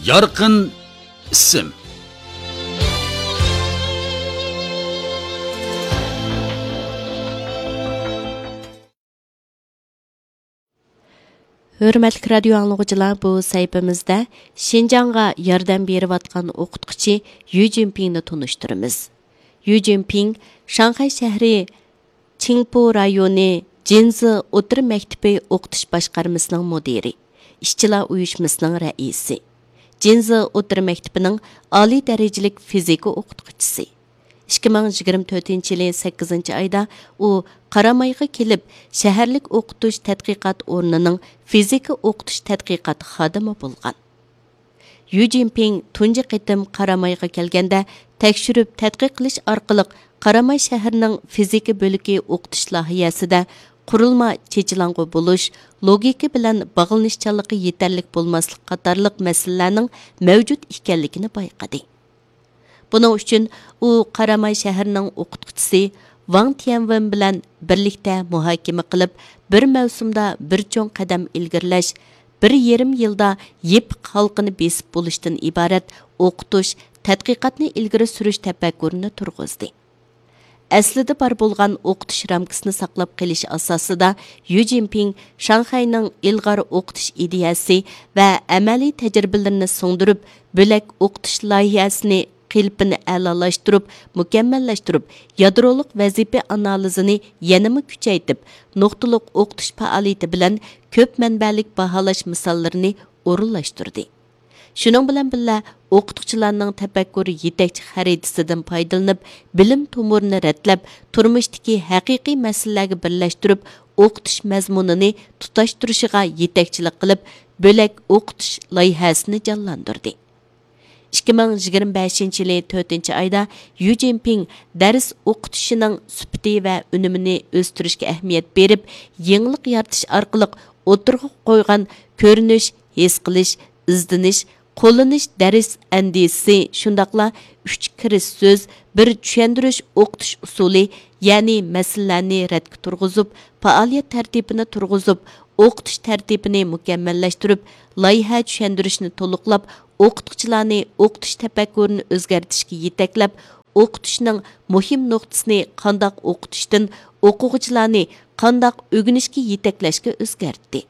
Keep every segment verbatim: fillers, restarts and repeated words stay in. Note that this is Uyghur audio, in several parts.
يارقىن ئىسىم. ھۆرمەتلىك رادىيو ئاڭلىغۇچىلار، بۇ سەھىپىمىزدە شىنجاڭغا ياردەم بېرىۋاتقان ئوقۇتقۇچى يۈ جىنپىڭنى تونۇشتۇرىمىز. يۈ جىنپىڭ شاڭخەي شەھىرى چىڭپۇ رايونى جىنزى ئوتتۇرا مەكتىپى ئوقۇتۇش باشقارمىسىنىڭ مۇدىرى، ئىشچىلار ئۇيۇشمىسىنىڭ رەئىسى، جىنزى ئوتتۇرا مەكتىپىنىڭ ئالىي دەرىجىلىك فىزىكا ئوقۇتقۇچىسى. ئىككى مىڭ يىگىرمە تۆتىنچى يىلى سەككىزىنچى ئايدا ئۇ قارامايغا كېلىپ، شەھەرلىك ئوقۇتۇش تەتقىقات ئورنىنىڭ فىزىكا ئوقۇتۇش تەتقىقات خادىمى بولغان. يۈ جىنپىڭ تۇنجى قېتىم قارامايغا كەلگەندە، تەكشۈرۈپ تەتقىق قىلىش ئارقىلىق قاراماي شەھىرىنىڭ فىزىكا بۆلىكى ئوقۇتۇش لايىھەسىدە قۇرۇلما چېچىلاڭغۇ بولۇش، لوگىكا بىلەن باغلىنىشچانلىقى يېتەرلىك بولماسلىق قاتارلىق مەسىلىلەرنىڭ مەۋجۇت ئىكەنلىكىنى بايقىدى. بۇنىڭ ئۈچۈن ئۇ قاراماي شەھىرىنىڭ ئوقۇتقۇچىسى ۋاڭ تيەنۋېن بىلەن بىرلىكتە مۇھاكىمە قىلىپ، بىر مەۋسۇمدا بىر چوڭ قەدەم ئىلگىرىلەش، بىر يېرىم يىلدا يېپىق ھالقىنى بېسىپ بولۇشتىن ئىبارەت ئوقۇتۇش، تەتقىقاتنى ئىلگىرى سۈرۈش تەپەككۇرىنى تۇرغۇزدى. ئەسلىدە بار بولغان ئوقۇتۇش رامكىسىنى ساقلاپ قېلىش ئاساسىدا، يۈ جىنپىڭ شاڭخەينىڭ ئىلغار ئوقۇتۇش ئىدىيەسى ۋە ئەمەلىي تەجرىبىلىرىنى سىڭدۈرۈپ، بۆلەك ئوقۇتۇش لايىھەسىنى قېلىپىنى ئەلالاشتۇرۇپ، مۇكەممەللەشتۈرۈپ، يادرولۇق ۋەزىپە ئانالىزىنى يەنىمۇ كۈچەيتىپ، نۇقتىلىق ئوقۇتۇش پائالىيىتى بىلەن كۆپ مەنبەلىك باھالاش مىساللىرىنى ئورۇنلاشتۇردى. شۇنىڭ بىلەن بىللە، ئوقۇتقۇچىلارنىڭ تەپەككۇر يېتەكچى خەرىتىسىدىن پايدىلىنىپ، بىلىم تومۇرىنى رەتلەپ، تۇرمۇشتىكى ھەقىقىي مەسىلىلەرگە بىرلەشتۈرۈپ، ئوقۇتۇش مەزمۇنىنى تۇتاشتۇرۇشىغا يېتەكچىلىك قىلىپ، بۆلەك ئوقۇتۇش لايىھەسىنى جانلاندۇردى. ئىككى مىڭ يىگىرمە بەشىنچى يىلى تۆتىنچى ئايدا يۈ جىنپىڭ دەرس ئوقۇتۇشىنىڭ سۈپىتى ۋە ئۈنۈمىنى ئۆستۈرۈشكە ئەھمىيەت بېرىپ، يېڭىلىق يارىتىش ئارقىلىق ئوتتۇرىغا قويغان كۆرۈنۈش، ھېس قىلىش، ئىزدىنىش، قوللىنىش دەرس ئەندىزىسى، شۇنداقلا ئۈچ كىرىش سۆز، بىر چۈشەندۈرۈش ئوقۇتۇش ئۇسۇلى، يەنى مەسىلىلەرنى رەتكە تۇرغۇزۇپ، پائالىيەت تەرتىپىنى تۇرغۇزۇپ، ئوقۇتۇش تەرتىپىنى مۇكەممەللەشتۈرۈپ، لايىھە چۈشەندۈرۈشنى تولۇقلاپ، ئوقۇتقۇچىلارنى ئوقۇتۇش تەپەككۇرىنى ئۆزگەرتىشكە يېتەكلەپ، ئوقۇتۇشنىڭ مۇھىم نۇقتىسىنى قانداق ئوقۇتۇشتىن ئوقۇغۇچىلارنى قانداق ئۆگىنىشكە يېتەكلەشكە ئۆزگەرتتى.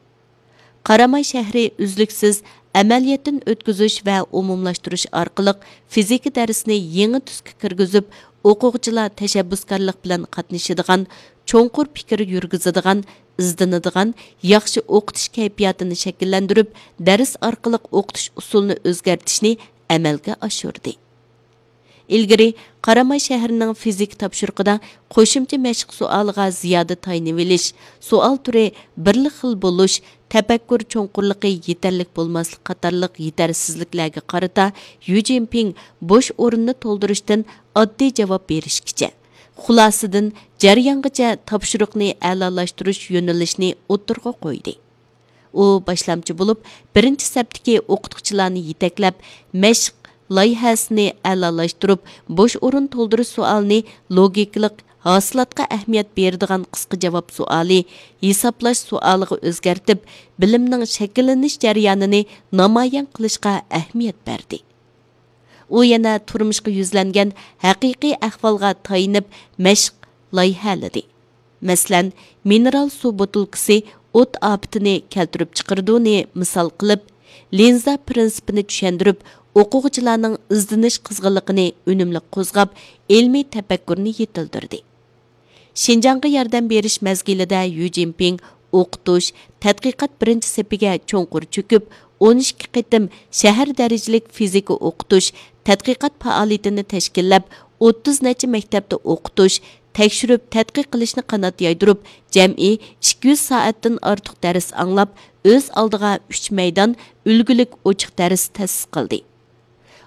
قاراماي شەھىرى ئۈزلۈكسىز ئەمەلىيەتتىن ئۆتكۈزۈش ۋە ئومۇملاشتۇرۇش ئارقىلىق فىزىكا دەرسىنى يېڭى تۈسكە كىرگۈزۈپ، ئوقۇغۇچىلار تەشەببۇسكارلىق بىلەن قاتنىشىدىغان، چوڭقۇر پىكىر يۈرگۈزىدىغان، ئىزدىنىدىغان، ياخشى ئوقۇتۇش كەيپىياتىنى شەكىللەندۈرۈپ، دەرس ئارقىلىق ئوقۇتۇش ئۇسۇلىنى ئۆزگەرتىشنى ئەمەلگە ئاشۇردى. ئىلگىرى قاراماي شەھىرىنىڭ فىزىكا تاپشۇرۇقىدا قوشۇمچە مەشىق سوئالىغا زىيادە تايىنىۋېلىش، سوئال تۈرى بىرلا خىل بولۇش، تەپەككۇر چوڭقۇرلۇقى يېتەرلىك بولماسلىق قاتارلىق يېتەرسىزلىكلەرگە قارىتا، يۈ جىنپىڭ بوش ئورۇننى تولدۇرۇشتىن ئاددىي جاۋاب بېرىشكىچە، خۇلاسىدىن جەريانغىچە تاپشۇرۇقنى ئەلالاشتۇرۇش يۆنىلىشىنى ئوتتۇرىغا قويدى. ئۇ باشلامچى بولۇپ، بىرىنچى سەپتىكى ئوقۇتقۇچىلارنى يېتەكلەپ، مەشىق لايىھەسىنى ئەلالاشتۇرۇپ، بوش ئورۇن تولدۇرۇش سوئالىنى لوگىكىلىق، ھاسىلاتقا ئەھمىيەت بېرىدىغان قىسقا جاۋاب سوئالى، ھېسابلاش سوئالىغا ئۆزگەرتىپ، بىلىمنىڭ شەكىللىنىش جەريانىنى نامايان قىلىشقا ئەھمىيەت بەردى. ئۇ يەنە تۇرمۇشقا يۈزلەنگەن ھەقىقىي ئەھۋالغا تايىنىپ مەشىق لايىھەلىدى. مەسىلەن، مىنېرال سۇ بوتۇلكىسى ئوت ئاپىتىنى كەلتۈرۈپ چىقىرىدۇنى مىسال قىلىپ، لىنزا پىرىنسىپىنى چۈشەندۈرۈپ، ئوقۇغۇچىلارنىڭ ئىزدىنىش قىزغىنلىقىنى ئۈنۈملۈك قوزغاپ، ئىلمىي تەپەككۇرنى يېتىلدۈردى. شىنجاڭغا ياردەم بېرىش مەزگىلىدە يۈ جىنپىڭ ئوقۇتۇش، تەتقىقات بىرىنچى سېپىگە چوڭقۇر چۆكۈپ، ئون ئىككى قېتىم شەھەر دەرىجىلىك فىزىكا ئوقۇتۇش، تەتقىقات پائالىيىتىنى تەشكىللەپ، ئوتتۇز نەچچە مەكتەپتە ئوقۇتۇش، تەكشۈرۈپ تەتقىق قىلىشنى قانات يايدۇرۇپ، جەمئىي ئىككى يۈز سائەتتىن ئارتۇق دەرس ئاڭلاپ، ئۆز ئالدىغا ئۈچ مەيدان ئۈلگىلىك ئوچۇق دەرس تەسىس قىلدى.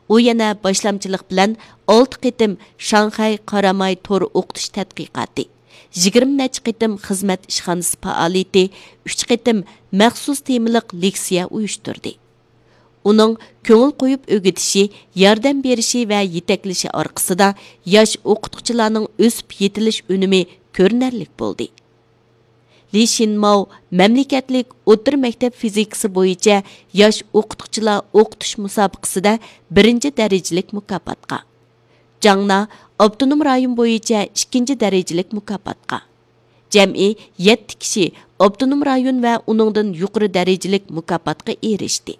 ئۇ يەنە باشلامچىلىق بىلەن ئالتە قېتىم شاڭخەي قاراماي تور ئوقۇتۇش تەتقىقاتى، يىگىرمە نەچچە قېتىم خىزمەت ئىشخانىسى پائالىيىتى، ئۈچ قېتىم مەخسۇس تېمىلىق لېكسىيە ئۇيۇشتۇردى. ئۇنىڭ كۆڭۈل قويۇپ ئۆگىتىشى، ياردەم بېرىشى ۋە يېتەكلىشى ئارقىسىدا ياش ئوقۇتقۇچىلارنىڭ ئۆسۈپ يېتىلىش ئۈنۈمى كۆرۈنەرلىك بولدى. لى شىنماۋ مەملىكەتلىك ئوتتۇرا مەكتەپ فىزىكىسى بويىچە ياش ئوقۇتقۇچىلار ئوقۇتۇش مۇسابىقىسىدە بىرىنچى دەرىجىلىك مۇكاپاتقا، جاڭنا ئاپتونوم رايون بويىچە ئىككىنچى دەرىجىلىك مۇكاپاتقا، جەمئىي يەتتە كىشى ئاپتونوم رايون ۋە ئۇنىڭدىن يۇقىرى دەرىجىلىك مۇكاپاتقا ئېرىشتى.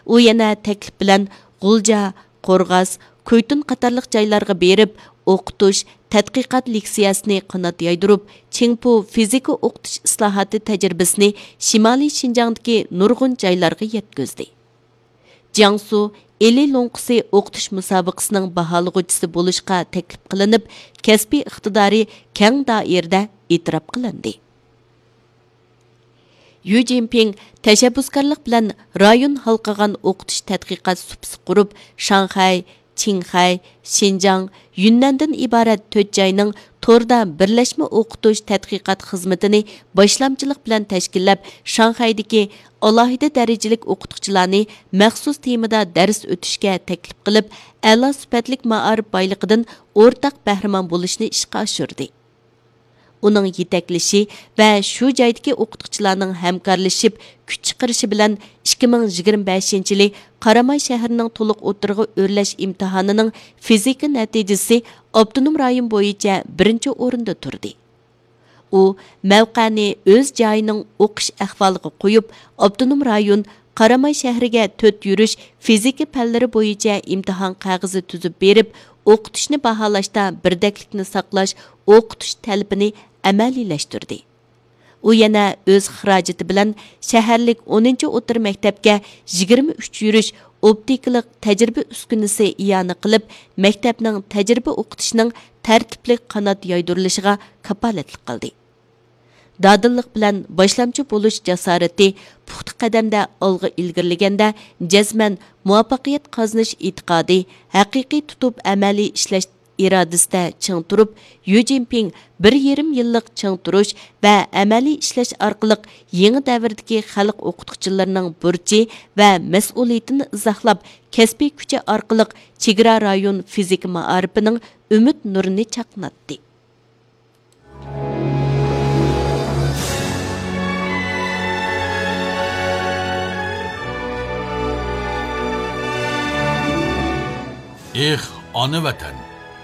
ئۇ يەنە تەكلىپ بىلەن غۇلجا، قورغاس، كۇيتۇن قاتارلىق جايلارغا بېرىپ، ئوقۇتۇش، تەتقىقات لېكسىيەسىنى قانات يايدۇرۇپ، چىڭپۇ فىزىكا ئوقۇتۇش ئىسلاھاتى تەجرىبىسىنى شىمالىي شىنجاڭدىكى نۇرغۇن جايلارغا يەتكۈزدى. جياڭسۇ ئىلى لوڭقىسى ئوقۇتۇش مۇسابىقىسىنىڭ باھالىغۇچىسى بولۇشقا تەكلىپ قىلىنىپ، كەسپىي ئىقتىدارى كەڭ دائىرىدە ئېتىراپ قىلىندى. يۈ جىنپىڭ تەشەببۇسكارلىق بىلەن رايون ھالقىغان ئوقۇتۇش تەتقىقات سۇپىسى قۇرۇپ، شاڭخەي، چىڭخەي، شىنجاڭ، يۈننەندىن ئىبارەت تۆت جاينىڭ توردا بىرلەشمە ئوقۇتۇش تەتقىقات خىزمىتىنى باشلامچىلىق بىلەن تەشكىللەپ، شاڭخەيدىكى ئالاھىدە دەرىجىلىك ئوقۇتقۇچىلارنى مەخسۇس تېمىدا دەرس ئۆتۈشكە تەكلىپ قىلىپ، ئەلا سۈپەتلىك مائارىپ بايلىقىدىن ئورتاق بەھرىمەن بولۇشنى ئىشقا ئاشۇردى. ئۇنىڭ يېتەكلىشى ۋە شۇ جايدىكى ئوقۇتقۇچىلارنىڭ ھەمكارلىشىپ كۈچ چىقىرىشى بىلەن، ئىككى مىڭ يىگىرمە بەشىنچى يىلى قاراماي شەھىرىنىڭ تولۇق ئوتتۇرىغا ئۆرلەش ئىمتىھانىنىڭ فىزىكا نەتىجىسى ئاپتونوم رايون بويىچە بىرىنچى ئورۇندا تۇردى. ئۇ مەۋقەنى ئۆز جايىنىڭ ئوقۇش ئەھۋالىغا قويۇپ، ئاپتونوم رايون قاراماي شەھىرىگە تۆت يۈرۈش فىزىكا پەنلىرى بويىچە ئىمتىھان قەغىزى تۈزۈپ بېرىپ، ئوقۇتۇشنى باھالاشتا بىردەكلىكنى ساقلاش ئوقۇتۇش تەلىپىنى ئەمەلىيلەشتۈردى. ئۇ يەنە ئۆز خىراجىتى بىلەن شەھەرلىك ئونىنچى ئوتتۇرا مەكتەپكە يىگىرمە ئۈچ يۈرۈش ئوپتىكىلىق تەجرىبە ئۈسكۈنىسى ئىئانە قىلىپ، مەكتەپنىڭ تەجرىبە ئوقۇتۇشىنىڭ تەرتىپلىك قانات يايدۇرۇلۇشىغا كاپالەتلىك قىلدى. دادىللىق بىلەن باشلامچى بولۇش جاسارىتى، پۇختا قەدەمدە ئالغا ئىلگىرىلىگەندە جەزمەن مۇۋەپپەقىيەت قازىنىش ئېتىقادى، ھەقىقىي تۇتۇپ ئەمەلىي ئىشلەش ئىرادىسىدە چىڭ تۇرۇپ، يۈ جىنپىڭ بىر يېرىم يىللىق چىڭ تۇرۇش ۋە ئەمەلىي ئىشلەش ئارقىلىق يېڭى دەۋردىكى خەلق ئوقۇتقۇچىلىرىنىڭ بۇرچى ۋە مەسئۇلىيىتىنى ئىزاھلاپ، كەسپىي كۈچى ئارقىلىق چېگرا رايون فىزىكا مائارىپىنىڭ ئۈمىد نۇرىنى چاقناتتى. ئېھ، ئانا ۋەتەن!